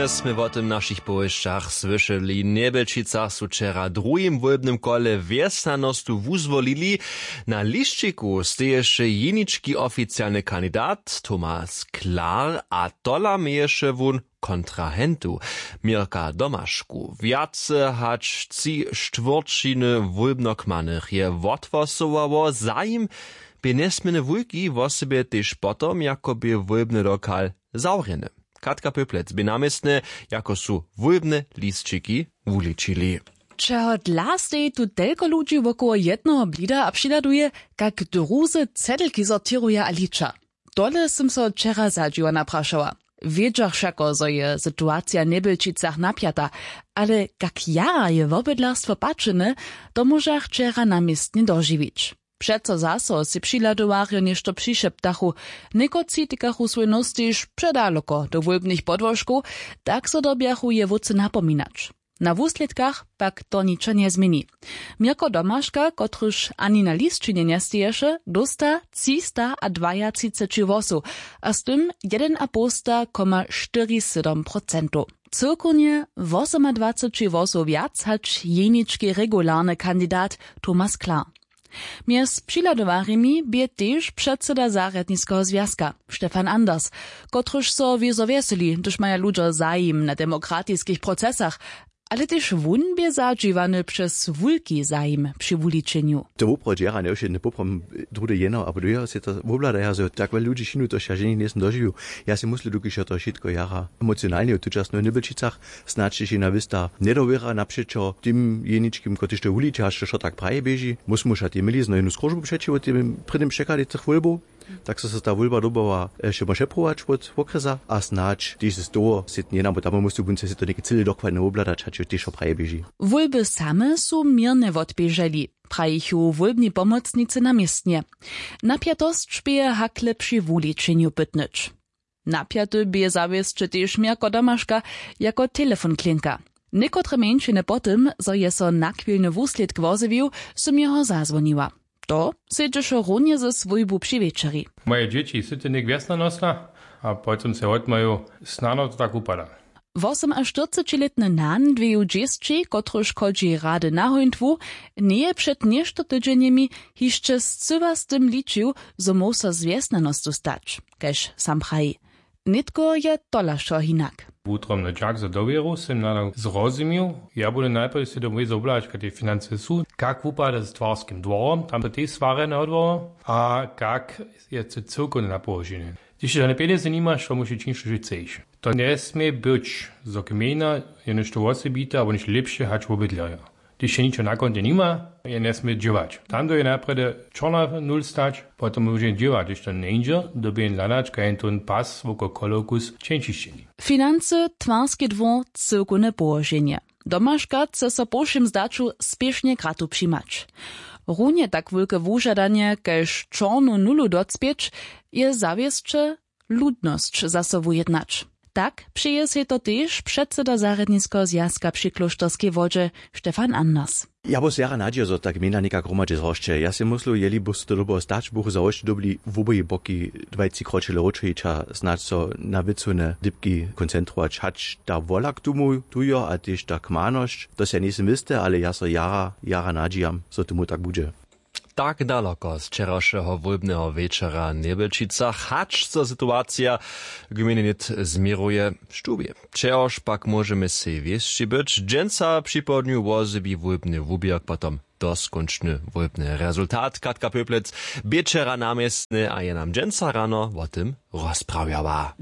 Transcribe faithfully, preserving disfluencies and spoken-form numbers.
Smy wo tym w našich powěsćach słyšeli. W Njebelčicach su wčera w druhim wólbnym kole wjesnjanostu wuzwolili. Na lisćiku steješe jenički oficialny kandidat Thomas Klar, a tola měješe wón kontrahentu Mirka Domašku. Wjace hač tři štwórćiny wólbnokmanych je wothłosowało. Zajim bě njesměrnje wulki, wosebje tež potom, jako bě wólbny lokal zawrjeny. Katka Pyplec bě na městnje, jako su wólbne lisćiki wuličili. Čehodla steji tu telko ludźi wokoło jednoho blida a přihladuje, kak druzy cedlki sortěruja a liča? Tole sym so wčera zadźiwa naprašała. Wědźach wšako, zo je situacija w Njebelčicach napjata, ale kak jara je wobydlarstwo pačene, to móžach wčera na městnje dožiwić. Přeco zaso sej přihladowarjo něšto přišeptachu. Někotři tikachu swój nos tež předaloko do wólbnych podłožkow, tak zo dyrbjachu je wótře napominać. Na wuslědkach pak to ničo njezměni. Měrko Domaška, kotryž ani na lisćinje njesteješe, dósta třista a dwajatřiceći hłosow a z tym jedenapołsta koma štyri sydom procentow. Cyłkownje wosomadwaceći hłosow wjac hač jenički regularny kandidat Thomas Klar. Mjez přihladowarjemi bě tež předsyda zarjadniskeho zwjazka Stefan Anders, kotryž so wězo wjeseli, hdyž maja ludźo zajim na demokratiskich procesach, ale tež wón bě zadźiwany přez wulki zajim při wuličenju. To woprawdźe jara njewšědne poprawom, druhdy jedno abo druheho sej to wobhladaja, zo tak wjele ludźi šinu, to ja ženje njejsym dožiwił. Ja sej myslu, dokiž je to wšitko jara emocionalneje w tučasnych Njebelčicach, snadź tež jena wěsta njedowěra napřećo tym jeničkim, kotryž to wuliča, hač to wšo tak praje běži. Móž móža tej měli znojenu skróžbu přećiwo tym prěnim překładej tych wólbow, tak so so ta wólba dyrbowa, e, wšemo přeprować wot wokrjesa a snadź tež z toho sej njenamo tam móžu bónce sej to něke cyle dokładnje wobhladać, hač jo tež wšo praje běži. Wólby same su měrnje wotběželi, prajichu wólbni pomocnicy na městnje. Napjatosć bě hakle při wuličenju pytnyć. Napjaty bě zawěsće tež Měrko Domaška jako telefonklinka. Někotre mjeńšiny po tym, zo je so nachwilny wuslědk wozjewił, sym jeho zazwoniła. To sedźeše runje ze swójbu při wječeri. Moje dźěći su ty něk wjesna nosla a potom se wotmaju, snano to tak wupada. Wosomaštyrcećilětny nan dweju dźěsći, kotryž chodźi rady na hójntwu, njeje před něšto tydźenjemi hišće scyła z tym ličił, zo móhł so z wjesnjanostu stać, kaž sam praji. Nětko je tola wšo hinak. Wutrobny dźak za dowěru sym nadal zrozumił. Ja budu najprjedy sej domoj zobhlać, kak te financy su, kak wupada z twarskim dworom, tam to tež swarjene odwoło, a kak je to cyłkowne napołoženje. Hdyž ty žane pjenjezy nimaš, to móžeš činić, što chceš. To njesmě być, zo gmejna je něšto wosebite abo něšto lěpše hač wobydlerjo. Hdyž je ničo na kontej nima, je njesmě dźěłać. Tam do je najprjedy čorna nul stać, potom móže dźěłać, hdyž to njeńdźe, dyrbi jen hladać, kaž jen tón pas woko kolowku z čeńčišćeni. Financy, twarski dwór, cyłkowne połoženje. Domaška chce so po wšěm zdaću spěšnje kratu přimać. Runje tak wulke wužadanje kaž čornu nulu docpěć, je zawěsće ludnosć zaso wujednać. Tak přeje sej to tež předsyda zarjadniskeho zwjazka při klóšterskej wodźe Stefan Anders. Ja bus jara nadźija, zo ta gmejna někak hromadźe zhoršće. Ja sej myslu, jeli bus to dobyło stać, buchu zhoršće dyrbili woboji boki dwaj tři kročele wróćić a snadź so na wěcowne dypki koncentrować, hač ta wola k tomu tu jo a tež ta kmanosć, to sej njejsym wěsty, ale ja so jara jara nadźijam, zo tomu tak budźe. Tak daloko z wčerawšeho wólbneho wječora w Njebelčicach, hač so situacija w gmejnje nět změruje, štubje. Čehož pak móžemy sej wěsći być, dźensa připołdnju wozjewi wólbny wuběrk potom doskónčny wólbny rezultat. Katka Pöplec bě wčera na městnje a je nam dźensa rano wo tym rozprawjała.